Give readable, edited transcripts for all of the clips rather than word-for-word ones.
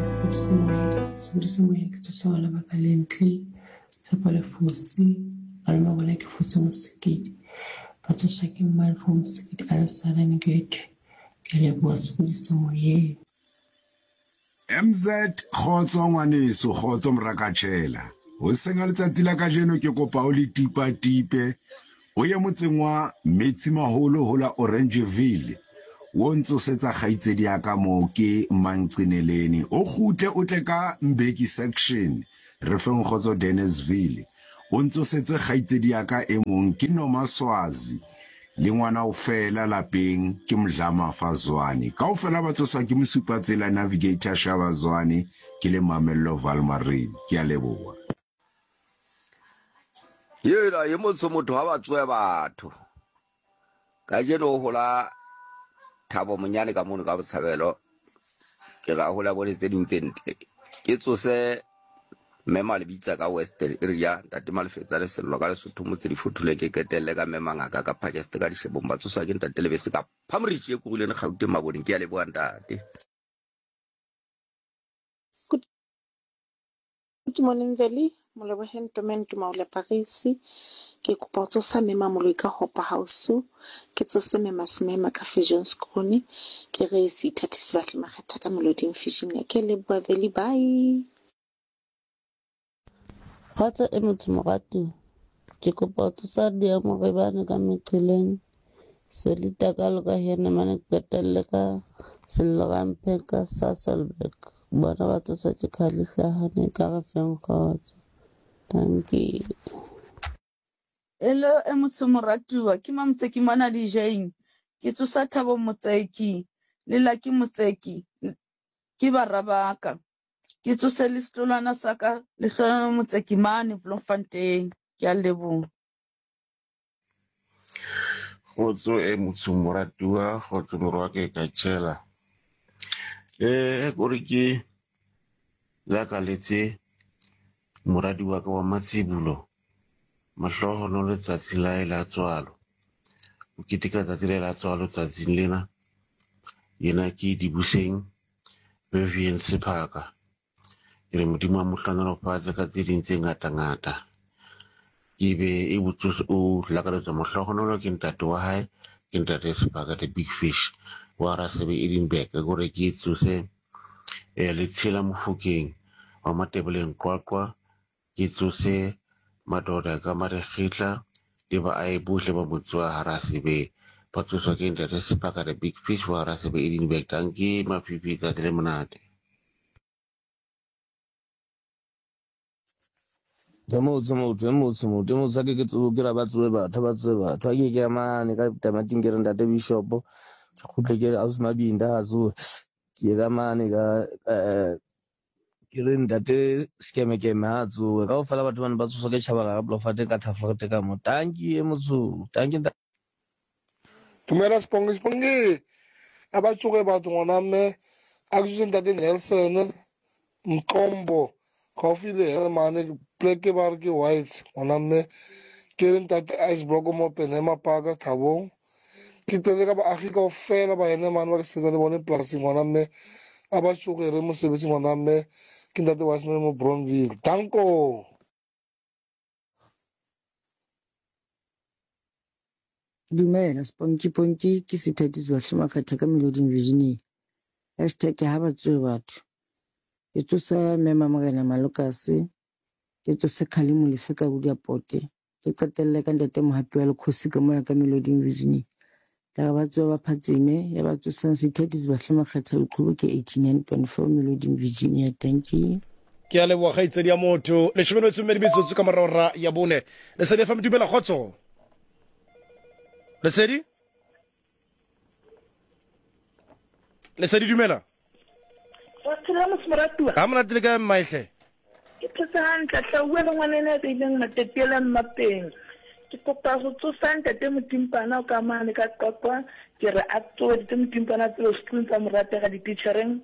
Sepodisi Moya, Sepodisi Moya ke tsosa bana ba ka Lentle, Tshepo le Fosi, malome wa bona ke Fosi Mosekedi. Ba tsoswa ke Mmalefo Mosekedi a le Saranegate. Ke a leboha Sepodisi Moyeng. MZ, Kgotso ngwaneso, kgotso morakatjhela. Hoseng ha letsatsi la kajeno ke kopa o le tipa-tipe o ye motseng wa Metsimaholo ho la Oranjeville o ntsosetsa kgaitsedi ya ka moo ke Mancineleni. O kgutle o tle ka Mbeki section re feng kgotso Dennisville. O ntsosetse kgaitsedi ya ka e mong ke Nomaswazi le ngwana o fela lapeng ke Mdlamafa Zwane. Kaofela ba tsoswa ke mosupatsela Navigator Shaba Zwane ke le Mamello Valmarine. Ke a leboha. Yela ye motsho motho ha ba tsoe batho. Kajeno o hola Thabo Monyane ka mono ka Botshabelo. Ke ra hola bone tse ding tse ntle. Ke tsose Mme Malebitsa ka Western area, Ntate Malefetsa Lesello ka Lesotho motse difothole ke qetelle ka Mme Mangaka ka Pakeste ka Dishebong ba tsoswa ke Ntate Lebese ka Phamritši e Kuruleng Gauteng Maboneng. Ke a leboha Ntate. Good morning Veli, Moleboheng Ntomeng Tumaole Paris. Ke kopa ho tsosa Mme Mamoloi ka Hopa House, ke tsose Mme Masemema ka Viljoenskroon, ke re seithathi se batle makgetha ka Meloding Virginia. Ke a leboha Veli, bye. Kgotso e motho moratuwa. Ke kopa ho tsosa Diamorebane ka meqheleng, Selita ka loka Henneman qetelle ka Sello Ramphe ka Sasolburg. Bona ba tsoswa ke Khali Hlahane ka re feng kgotso. Dankie. Hello e motsho moratuwa ke Mamotseki mona dijeng ke tsosa Thabo Motseki le Lucky Motseki ke bara ba ka ke tsose le setlolwana sa ka Lehlohonolo Motseki mane Bloemfontein ke a leboha. Kgotso e motsho moratuwa, kgotso morwa ke ka tšhela. Eh kore ke lakaletse moradi wa ka wa matsibulo mahlohonolo letsatsi la hae la tswalo. O keteka tsatsi la hae la tswalo tsatsing lena. Yena ke Dibuseng Vivian Sephaka. Ke re Modimo a mo hlohonolofatse ka tse ding tse ngata-ngata. Ke be e botse o lakaletswa mahlohonolo ke ntate wa hae, ke ntate Sephaka the big fish wa Rasebe Edinburgh. Ke gore ke tsose eh, Letshela Mofokeng wa Matebeleng Qwaqwa Ke tsose madoda ka marekgetla le baahi bohle ba motse wa Harasebe. Ba tsoswa ke Ntate Sephaka the Big Fish wa Harasebe Edinburgh. Dankie Mafifi, tsatsi le monate. E motsho motho e motsho motho e motsho a ke ke tsoe ke ra ba tsoe batho ba tsoe batho a ke ke ya mane ka tamating ke re ntate bishop ke kgutle ke re ausi mabinda ha tsoe ke ye ka mane ka eh, ke re ntate sekemekeme ha tsoe ka ofela batho bane ba tsoswa ke tšhabala ka blofate ka thaforete ka mo tanki e motsho tanki Dumela Sponge Sponge a ba tsoge batho ngwana mme a ke tsose ntate Nelson Mqombo gaufi le Hermane pleke ba re ke Whites ngwana mme ke re ntate Ice Block mo Penema Park Thabong Ke tlele ka baagi kaofela ba ene mane ba ke sebetsa le bone polasing ngwana mme a ba tšogere mosebetsi ngwana mme ke ntate Wiseman mo Bronville. Danko. Dumela Sponky Ponky ke Sithati Sebahle Makgatha ka Meloding Virginia. Hashtag ha ba tsoe batho. Ke tsosa Mme Mamorena Malokase, ke tsose Khalimo Lefe ka Bodiapote. Ke qetelle ka ntate Mohapi wa Lekgosi ka mona ka Meloding Virginia. Ka re ba tsoa ba phatsime ya ba tsosang Sithati Sebahle Makgetha Leqhubu ke 89.4 Meloding Virginia. Thank you. Ke a leboga kgaitsedi ya motho. Leshome le metso e mmedi metsotso ka morago ra ya bone. Lesedi FM dumela kgotso. Lesedi? Lesedi dumela. Wa phela motho moratuwa. Ga monate le kae mmaehle? Ke phetse hantle hle o bua le ngwanene a beileng matetiela mmapeng. Ke kopa go tsosa ntate Motimpana o ka mane ka Qwaqwa ke re a tsoe ntate Motimpana a tsebe setlong tsa mo ratega dititjhereng.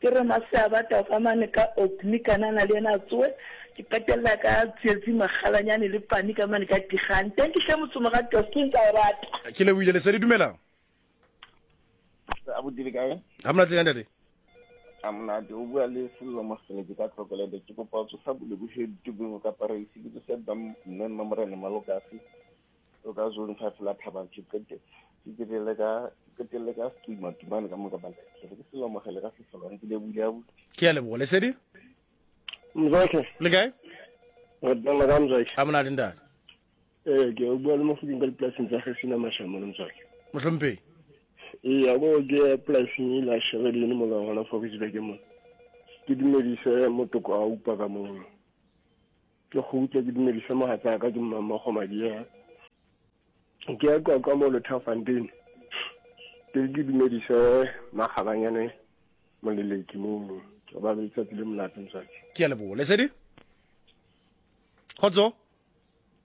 Ke re Maseabata o ka mane ka Orkney kanana le yena a tsoe. Ke qetella ka Tsietsi Makgalanyane le Pani ka mane ka Tigane. Thank you hle motho moratuwa setlong tsa o rata. Ke lebohile Lesedi dumela. Abuti le kae? Ga monate le kae ntate? A monate o bua le Sello Moseleke ka Tlhokolele. Ke kopa ho tsosa bolebohe ditubeng ka Paris. Ke tsose ba mme Mmamorena Malokase o ka zone 5 la Thabang. Ke qete ke qetelle ka ke qetelle ka Setuma Tumane ka moka ba ke ke Sello Mogele ka Sesolwane ke lebohile abuti. Ke a leboha. Lesedi? Mzwakhe. Le kae? Re teng le ka Mzwakhe. A monate ntate. Ee, ke o bua le Mofokeng ka dipolasing tsa Gesina Mashamo le Mzwakhe. Mohlomphehi. Ee, a ko ke polasing e la Sheredine mo la gona Fouriesburg mo. Ke dumedise motoko a upa ka mono. Ke kgutle ke dumedise mohatsaka ke mmammogo Madiea. Ke ya Qwaqwa mo Lothafontein. Ke ke dumedise Makgabanyane Moleleki mono. Ke ba le letsatsi le monate Mzwakhe. Ke a leboha. Lesedi? Kgotso?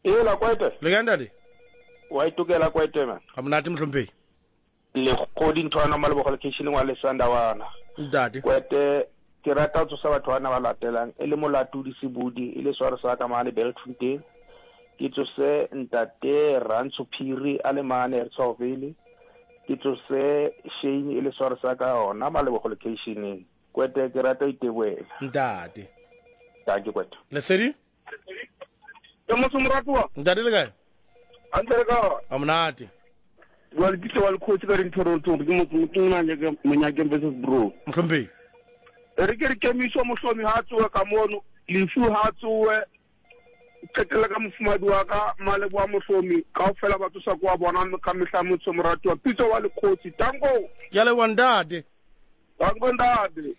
Ela kwete. Le kae ntate? Wa itokela kwete man. Ga monate mohlomphegi. Lekgodi nthwana malebogo lekeisheneng wa Lesandawana. Ntate. Kwete ke rata ho tsosa batho bana ba latelang e le Molatodi Sebudi e le sware sa ka mane Beltfontein. Ke tsose ntate Rantsho Phiri a le mane Ertsoville. Ke tsose Shane e le sware sa ka ona malebogo lekeisheneng. Kwete ke rata ho iteboela. Ntate. Dankie Kwete. Lesedi? Ke motho moratuwa. Ntate le kae? Hantle le kae? A monate. Bua le Pitso wa lekgosi ka dinthorontoro ke motho motho monyakeng monyakeng versus bro. Mohlomphehi. E re ke re kemiso mohlomi ha tsoe ka mono lefu ha tsoe qetelle ka mofumadi wa ka maleboa mohlomi kaofela ba tsosa kwa bona ka mehla motho moratuwa Pitso wa lekgosi tanko. Ke a leboha ntate. Tanko ntate.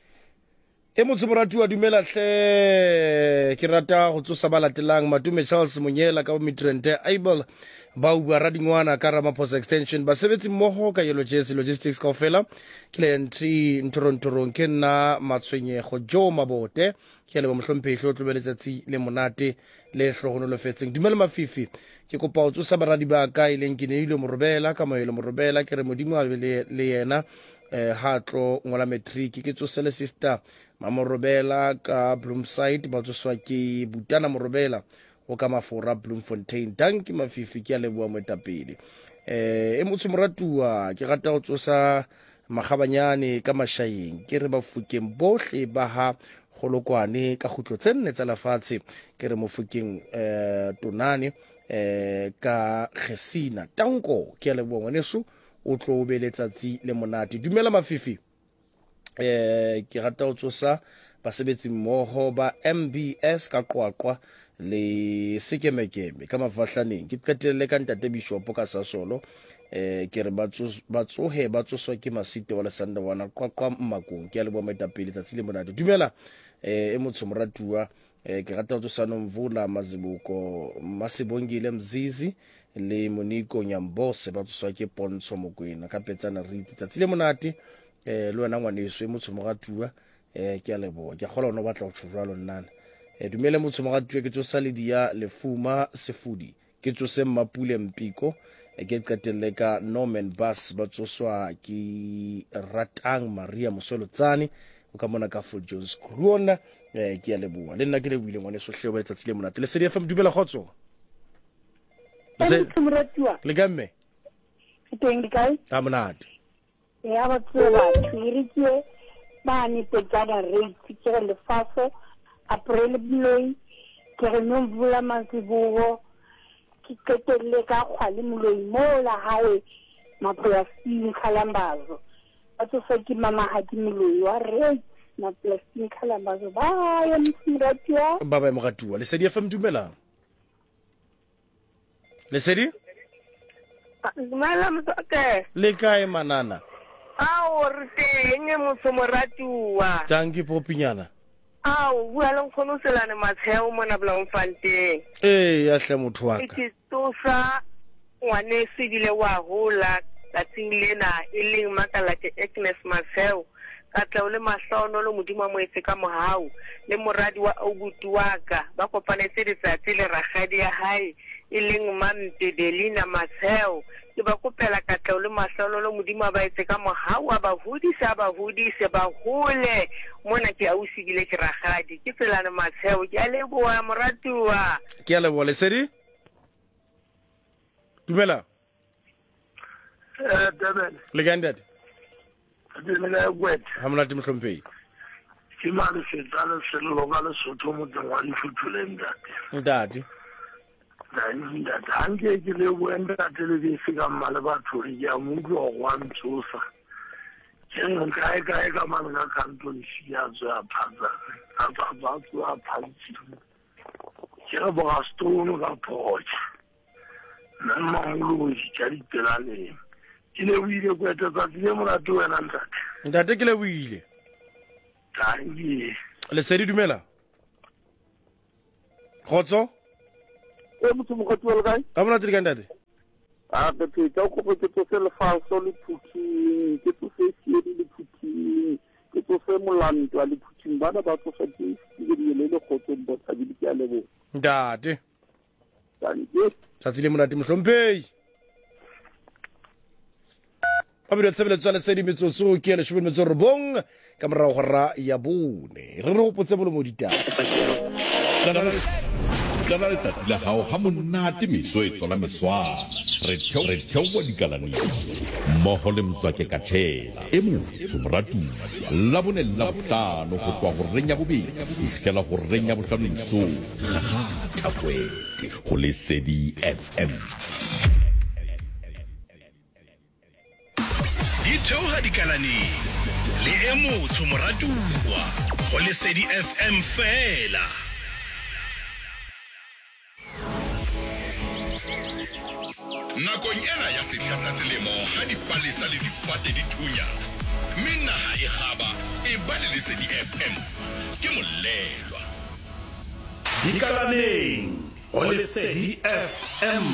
E motse moratuwa dumela hle ke rata go tsosa ba latelang Matume Charles Monyela ka Midrand Abel Bauba Radingwana ka Ramaphosa Extension basebetsi mmogo ka Yellow Jersey Logistics kaofela ke le entry ntorontorong ke nna Matshwenyego Joe Mabote ke a leboha mohlomphehli o tlobe letsatsi le monate le hlohonolofetseng dumela mafifi ke kopa o tsosa baradi ba ka e leng ke neilwe morobela ka moelo morobela ke re modimo a be le yena eh ha tlo ngola matric ke tsose le sister mamorobela ka Bloomside ba tsoswa ke Butana Morobela o ka Mafora Bloemfontein danki mafifi ke a leboa moetapele eh e motho moratuwa ke rata go tsosa Makgabanyane ka Mashaeng ke re Bafokeng bohle ba ha Kgolokwane ka kgutlo tse nne tsa lefatshe ke re Mofokeng eh Tonane eh ka Gesina Tanko ke a leboa ngwaneso o tlo o be letsatsi le monate dumela mafifi eh ke rata ho tsosa basebetsi mmoho ba MBS ka Qwaqwa le Sekemekeme ka Mafahlaneng ke qetelle ka ntate Bishopo ka Sasolo eh ke re ba tsohe ba tsoswa ke Masite wa Lesandawana Qwaqwa Mmakong ke a leboha moetapele tsatsi le monate dumela eh e motsho moratuwa eh ke rata ho tsosa Nomvula Mazibuko Masibongile Mzizi le Moniko Nyambose ba tsoswa ke Pontsho Mokwena ka Petsana Rite tsatsi le monate eh le wena ngwaneso e motsho moratuwa eh ke a leboha ke a kgola o batla go tsho jwalo nnana eh dumele motsho moratuwa ke tsosa le dia lefuma sefudi ke tsose mmapule mpiko eh, ke qetelle ka Norman Bass ba tsoswa ke ratang Maria Mosolotsane o ka mona ka Full Jones Kruona eh ke a leboha le nna ke lebohile ngwaneso hle o ba letsatsi le monate Lesedi FM dumela kgotso le ka mme teng le kae a monate ya ba tsoe batho e re ke bane petsana rate ke re lefaso april moloi ke re nomvula mazibuko ke qetelle ka kgwale moloi mo la hae mapolasing khalambazo ba tsosa ke mamahadi moloi wa rate mapolasing khalambazo ba ya moratuwa ba ba moratuwa lesedi fm dumelang Lesedi? Dumela motswake. Le kae manana? Ao re teng motho moratuwa. Tanki popinyana. Ao bua le nkgono Selane Matsheo mona Bloemfontein. Ee ya hle motho wa ka. Ke tsosa ngwaneso ebile wa hola tsatsing lena e leng Makalake Agnes Matsheo. Katleho le mahlohonolo Modimo a mo etse ka mohau, le moradi wa aubuti wa ka ba kopanetse letsatsi le rakgadi ya hae e leng Mampe Delina Matsheo. Ke ba kopela katleho le mahlohonolo Modimo a ba etse ka mohau, a ba hodise, a ba hodise, ba hole. Mona ke ausi ebile ke rakgadi. Ke Tselane Matsheo. Ke a leboha moratuwa. Ke a leboha Lesedi. Dumela. Eh, Durban. Le kae ntate? Le kae Kwete? Ha monate mohlomphei. Ke Malefetsa Lesello ka Lesotho motseng wa Lefutule ntate. Ntate. Ntate ntate ha nke ke lebohe ntate le bese ka mma le batho re ke a mo utlwa gore wa ntsosa. Ke re kae kae ka mane ka kanton si a tswe a phatsa a tswa a tswa a phatsile. Ke re borastone ka photša. Nna mmamoloji ka dipelaleng. Ke lebohile kwete tsatsi le monate wena ntate. Ntate ke lebohile. Dankie. Lesedi dumela. Kgotso. E motho mokgotsi wa le kae? Ka monate le kae ntate? A re pheta o kopo ke tsose lefaso le phuthing, ke tsose siedi le phuthing, ke tsose molantwa le phuthing bana ba tsosa ke le le kgotsong botshabile ke a leboha. Ntate. Tsatsi le monate mohlomphei. Ba tshebeletso ya lesedi metsotso ke ya leshome le metso robong ka morago go ra ya bone. Re re gopotse bolomo ditaba. Qala letsatsi la gago ga monate meso e tswala meswana. Re theowa dikalaneng mmogo le Mzwake Katšhela e motsho moratuwa Labone le Labohlano go tloga goreng ya bobedi go fihlela goreng ya bohlano mesong. Gagatha kwete go Lesedi FM. Di theoga dikalaneng le e motsho moratuwa go Lesedi FM fela. Nakong ena ya sehla sa selemo ha dipalesa le difate di thunya mme naha e kgaba, eba le Lesedi FM. Ke molelwa. Dikalaneng go Lesedi FM.